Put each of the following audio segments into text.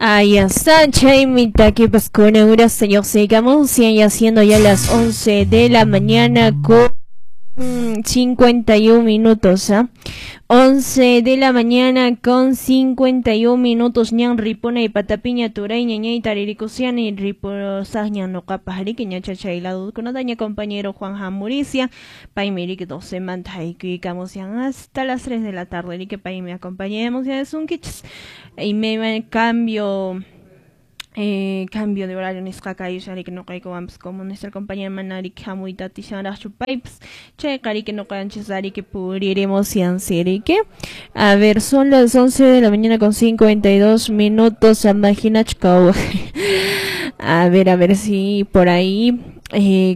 Ahí está, chaymi takipas kunan uras lluqsiykamunsian, ya siendo ya las 11 de la mañana con 51 minutos, ¿ah? 11 de la mañana con 51 minutos, ñan ripuna y patapiña turay ñañay taririkusiani riposaqña nuqapaq riki ñachachay ladukunataña compañero Juan Jamuricia, paymi riki 12 manta haykuykamusian hasta las 3 de la tarde, riki paymi acompañamos ya sunkichis y me cambio cambio de horario nisqaqa ayushariki nuqaykuwanpas como nuestra compañera manariki hamuyta atishanraqchu paypas chayqa riki nuqanchis ariki puriremos riki. A ver, son las 11 de la mañana con 52 minutos, imagina. A ver si por ahí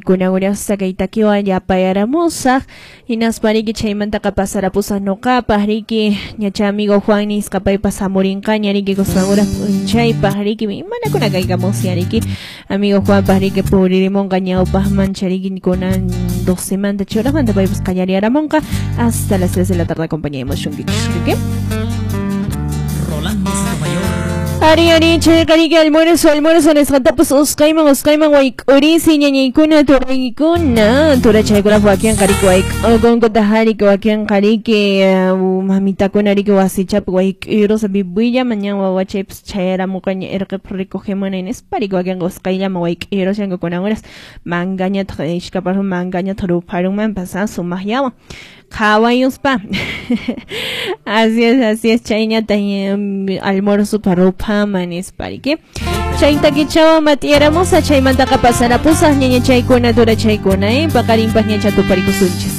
kunan urasta kay takiwan yapayaramusaq hinaspa riki chaymantaqa pasarapusaq nuqapaq riki ñacha amigo Juan nisqa paypas hamurinqaña riki kusqanura p'unchaypaq riki imanakuna kaykamusya riki amigo Juanpaq riki puririmunqa ñawpaqmancha riki kunan 12 manta churaqmanta paypas qallariyaramunqa hasta las 3 de la tarde acompañaremos shunkichis riki. Rolando Sotomayor. Ari ari chayqa riki almuerzo almuerzo nisqatapas usqayman usqayman wayk'urisi ñañaykuna turaykuna turachaykunap wakinqa riki wayk'ukunkuta riki wakinqa riki mamitakuna riki wasichapi wayk'irusa bibuyllaman ñan wawachaypas chayaramuqaña irqipaq recogemunay nispa riki wakinqa usqayllaman wayk'irushanku kunan uras mangañataq ishkaparun mangañataq rupharunmanpas sumaqllawan qhawayuspa. Así es, chayñata almuerzo ruphaman nispa riki chayta kichawan mat'iyaramusa chaymantaqa pasarapusaq ñañachaykuna turachaykuna paqarinpaq ñacha tuparikusunchis.